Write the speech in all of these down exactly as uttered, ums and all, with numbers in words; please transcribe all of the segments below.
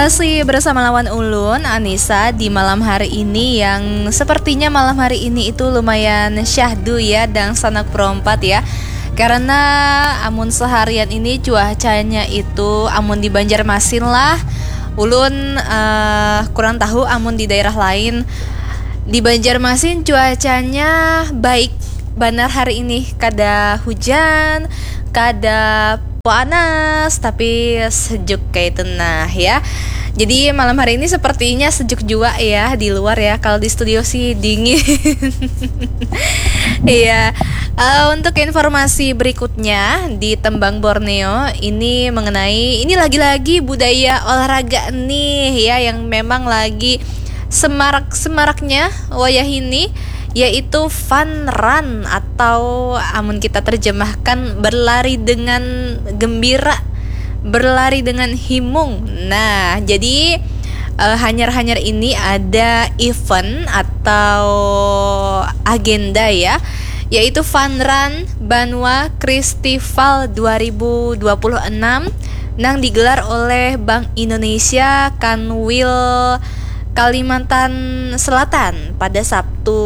Masih bersama lawan ulun, Anissa, di malam hari ini yang sepertinya malam hari ini itu lumayan syahdu ya, dangsanak perompat ya. Karena amun seharian ini cuacanya itu, amun di Banjarmasin lah, ulun eh, kurang tahu amun di daerah lain. Di Banjarmasin cuacanya baik banar hari ini, kada hujan, kada panas, tapi sejuk kayak itu nah ya. Jadi malam hari ini sepertinya sejuk juga ya di luar ya. Kalau di studio sih dingin. Iya. Eh, untuk informasi berikutnya di Tembang Borneo ini mengenai, ini lagi-lagi budaya olahraga nih ya, yang memang lagi semarak-semaraknya wayah ini, yaitu fun run atau amun kita terjemahkan berlari dengan gembira, berlari dengan himung. Nah, jadi eh, hanyar-hanyar ini ada event atau agenda ya, yaitu Fun Run Banua Kristival dua ribu dua puluh enam nang digelar oleh Bank Indonesia Kanwil Kalimantan Selatan pada Sabtu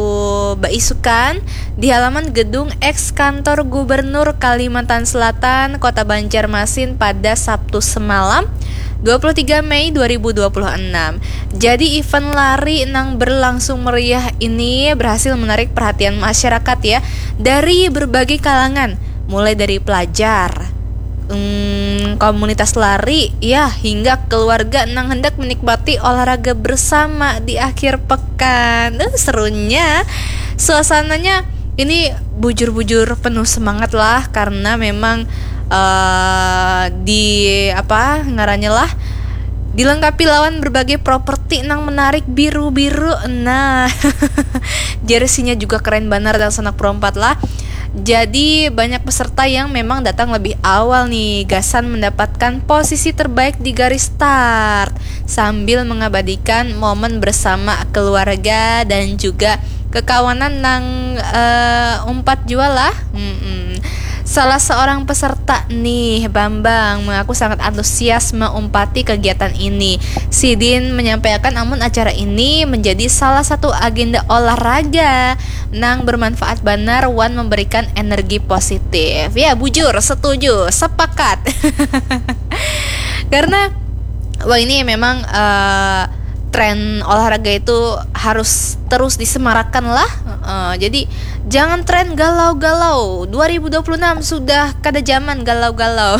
baisukan di halaman gedung eks kantor Gubernur Kalimantan Selatan, Kota Banjarmasin pada Sabtu semalam, dua puluh tiga Mei dua ribu dua puluh enam. Jadi event lari nang berlangsung meriah ini berhasil menarik perhatian masyarakat ya, dari berbagai kalangan, mulai dari pelajar, hmm, komunitas lari ya, hingga keluarga nang hendak menikmati olahraga bersama di akhir pekan. Uh, serunya, suasananya ini bujur-bujur penuh semangat lah, karena memang eh, di apa ngarannya lah, dilengkapi lawan berbagai properti nang menarik, biru-biru. Nah, jersinya juga keren banar dangsanak perompat lah. Jadi banyak peserta yang memang datang lebih awal nih, gasan mendapatkan posisi terbaik di garis start sambil mengabadikan momen bersama keluarga dan juga kekawanan nang eh, umpat jua lah. Mm-mm. Salah seorang peserta nih, Bambang, mengaku sangat antusias meumpati kegiatan ini. Sidin menyampaikan amun acara ini menjadi salah satu agenda olahraga nang bermanfaat banar wan memberikan energi positif. Ya, bujur, setuju, sepakat. Karena wah, ini memang eh, tren olahraga itu harus terus disemarakan lah. Eh, jadi jangan tren galau-galau. Dua ribu dua puluh enam sudah kada zaman galau-galau.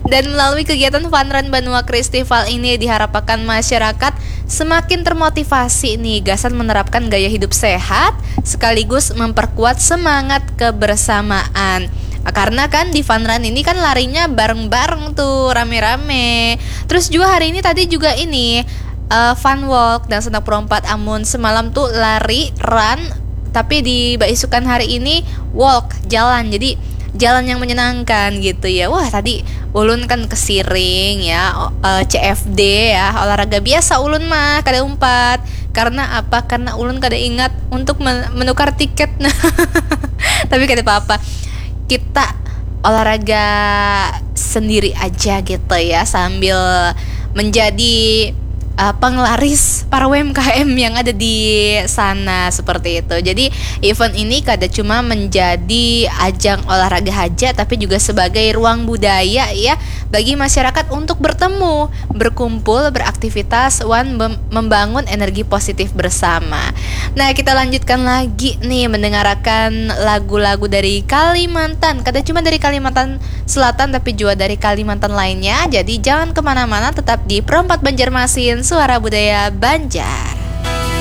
Dan melalui kegiatan Fun Run Banua Kristival ini diharapkan masyarakat semakin termotivasi nih gasan menerapkan gaya hidup sehat sekaligus memperkuat semangat kebersamaan. Karena kan di Fun Run ini kan larinya bareng-bareng tuh, rame-rame. Terus juga hari ini tadi juga ini eh, fun walk dangsanak perompat, amun semalam tuh lari, run, tapi di baisukan hari ini walk, jalan. Jadi jalan yang menyenangkan gitu ya. Wah, tadi ulun kan kesiring ya, o- eh, C F D ya, olahraga biasa ulun mah, kada umpat. Karena apa? Karena ulun kada ingat untuk men- menukar tiket. Nah, tapi kada apa-apa. Kita olahraga sendiri aja gitu ya, sambil menjadi uh, penglaris para U M K M yang ada di sana seperti itu. Jadi event ini kada cuma menjadi ajang olahraga haja, tapi juga sebagai ruang budaya ya bagi masyarakat untuk bertemu, berkumpul, beraktivitas, wan mem- membangun energi positif bersama. Nah, kita lanjutkan lagi nih mendengarkan lagu-lagu dari Kalimantan. Kada cuma dari Kalimantan Selatan, tapi juga dari Kalimantan lainnya. Jadi jangan kemana-mana, tetap di Perempat Banjarmasin, Suara Budaya Banjar.